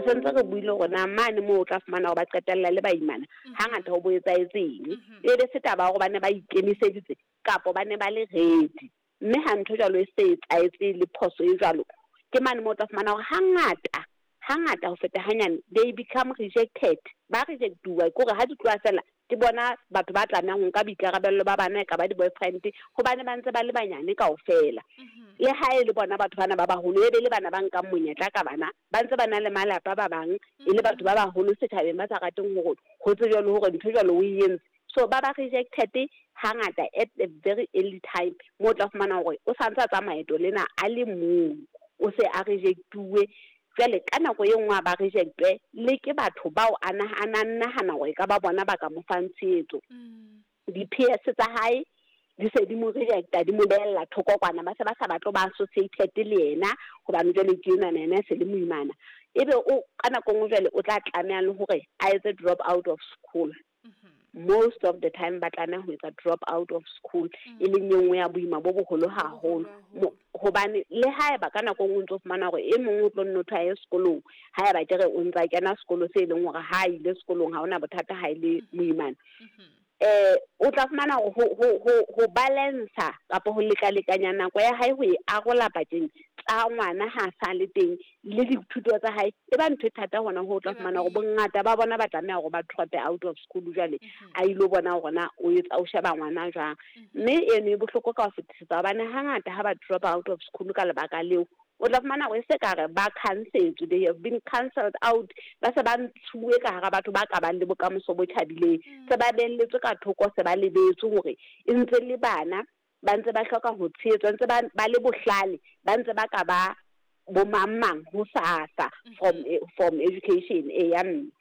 Re sentse re buile hore na mane moo o tla fumana hore ba qetella le baimana, hangata ho bo etsahetseng. E be se taba ya hore ba ne ba ikemiseditse kapo ba ne ba le ready. Mme ha ntho jwalo e se etsahetse le phoso e jwalo, ke mane moo o tla fumana hore hangata, hangata ho feta hanyane, they become rejected. Ba reject-uwa, ke hore ha di tloha fela, ke bona batho ba tlamehang ho nka boikarabello ba bana, e ka ba di-boyfriend, hobane ba ntse ba le banyane kaofela. Le ha e le bona batho bana ba baholo, e be le bana ba nkang monyetla ka bana, ba ntse ba na le malapa ba bang, e le batho ba baholo setjhabeng ba sa rateng hore ho tsejwe le hore ntho jwalo o e entse. So ba ba rejected hangata at a very early time, moo o tla fumana hore o sa ntse a tsamaya leeto lena a le mong, o se a reject-uwe. Jwale ka nako e nngwe a ba reject-we le ke batho bao a na nahana hore e ka ba bona ba ka mo fang tshehetso. Di-peers tsa hae di se di mo rejecta, di mo behella thoko kwana, ba se ba sa batle ba associated le yena, hobane jwale ke enwana yena e se le moimana. Ebe o ka nako e nngwe jwale o tla tlameha le hore a etse drop out of school. Most of the time ba tlameha ho etsa drop out of school, e leng e nngwe ya boima bo boholo haholo. Hobane le haeba ka nako e nngwe o ntso fumana hore e mong o tlo nno thwe a ye sekolong, haeba ke re o ntsa kena sekolo se e leng hore ha a ile sekolong ha hona bothata ha e le moimana. O tla fumana hore ho balancer kapa ho lekalekanya nako ya hae ho e arola pakeng tsa ngwana ha sa le teng le dithuto tsa hae, e ba ntho e thata hona ho tla fumana hore bongata ba bona ba tlameha hore ba drop out of school jwale, a ilo bona hore na o etsa o sheba ngwana jwang. Mme eno e bohloko ka ho fetisisa, hobane hangata ha ba drop out of school ka lebaka leo, o tla fumana hore e se ka re ba cancelled, they have been cancelled out, ba se ba ntshuwe ka hara batho ba ka bang le bokamoso bo tjhabileng, se ba behelletswe ka thoko, se ba lebetswe hore e ntse le bana, ba ntse ba hloka ho tshehetswa, ntse ba le bohlale, ba ntse ba ka ba bo mang mang ho sasa from education e ya mme.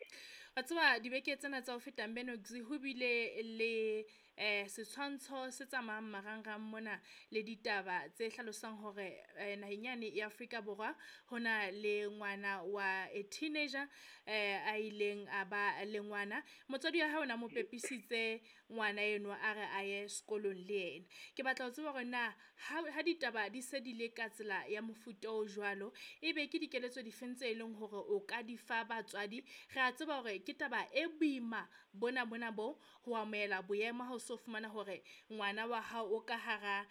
Wa tseba dibeke tsena tsa ho feta Menox ho bile le setshwantsho se tsamayang marangrang mona le ditaba tse hlalosang hore naheng yane ya Afrika Borwa ho na le ngwana wa a teenager a ileng a ba le ngwana. Motswadi wa hae o na mo pepisitse ngwana enwa a re a ye sekolong le yena. Ke batla ho tseba hore na ha ditaba di se di le ka tsela ya mofuta o jwalo, ebe ke dikeletso difeng tse leng hore o ka di fa batswadi? Re a tseba hore ke taba e boima bona bona bo ho amohela boemo ha o so fumana hore ngwana wa hao o ka hara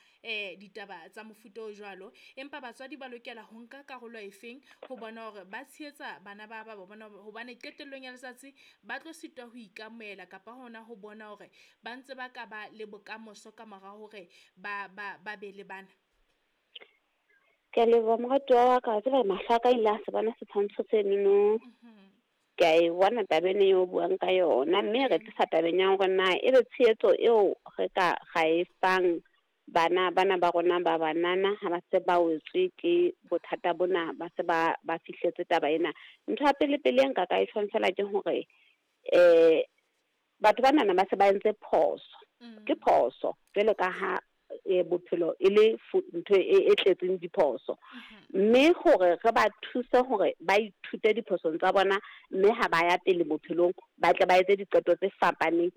ditaba tsa mofuta o jwalo, empa batswadi ba lokela ho nka karolo efeng ho bona hore ba tshehetsa bana ba ba bona, hobane qetellong ya letsatsi ba tlo sitwa ho ikamohela kapa hona ho bona hore ba ntse ba ka ba le bokamoso ka mora hore ba be le bana. Ke a leboha moratuwa wa ka, wa tseba mahlo a ka ile a se bona setshwantsho senono. Ke a e bona taba ena eo o buang ka yona, mme re tlisa tabeng ya hore na ebe tshehetso eo re ka ra e fang bana bana ba rona ba banana ha ba se ba wetswe ke bothata bona, ba se ba fihletse taba ena. Ntho ya pele pele e nka ka e tjhong fela ke hore batho banana ba se ba entse phoso. Ke phoso jwalo ka ha bophelo e le ntho e tletseng diphoso. Mme hore re ba thuse hore ba ithute diphosong tsa bona, mme ha ba ya pele bophelong ba tle ba etse diqeto tse fapaneng.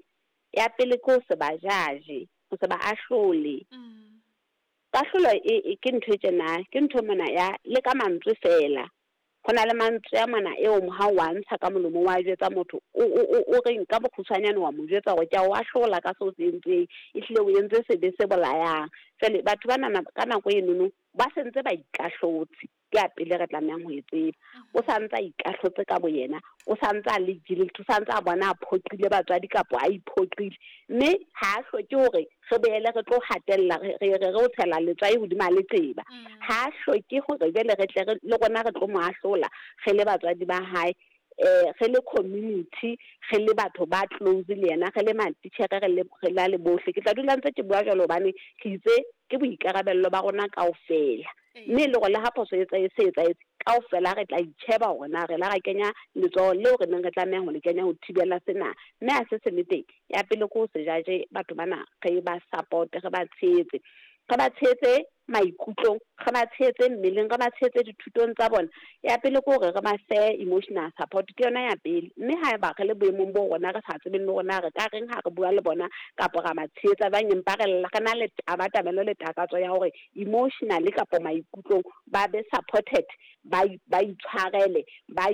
Ya pele ke ho se ba judge, ho se ba ahlole. Kahlolo e ke ntho e tjena, ke ntho mona ya le ka mantswe fela. Ho na le mantswe a mona eo ha o a ntsha ka molomo wa jwetsa motho, o reng ka bokgutshwanyane wa mo jwetsa hore ke a o ahlola ka seo se entseng, ehlile o entse sebe se bolayang. Jwale batho banana ka nako enono ba sentse ba ikahlotse, ke ya pele re tlamehang ho e tseba. O sa ntse a ikahlotse ka boyena, o sa ntse a le guilty, o sa ntse a bona a phoqile batswadi kapa a iphoqile, mme ha a hloke hore re boele re tlo hatella, re o tshela letswai hodima leqeba. Ha a hloke hore jwale re tle le rona re tlo mo ahlola re le batswadi ba hae, re le community, re le batho ba close le yena, re le matitjhere, re la le bohle. Ke tla dula ntse ke bua jwalo hobane ke itse ke boikarabello ba rona kaofela. Mme le hore le ha phoso e se etsahetse, kaofela re tla itjheba hore na re la ra kenya letsoho leo re neng re tlameha ho le kenya ho thibela sena. Mme ha se se le teng, ya pele ke ho se judge batho bana, re ba support, re ba tshehetse. Re ba tshehetse maikutlong, re ba tshehetse mmeleng, re ba tshehetse dithutong tsa bona. Ya pele ke hore re ba fe emotional support, ke yona ya pele. Mme haeba re le boemong bo rona re sa tsebeng le rona re ka reng ha re bua le bona kapa ra ba tshehetsa jwang, empa re lla, re na le tabatabelo le takatso ya hore emotionally kapa maikutlong ba be supported, ba itshwarele, ba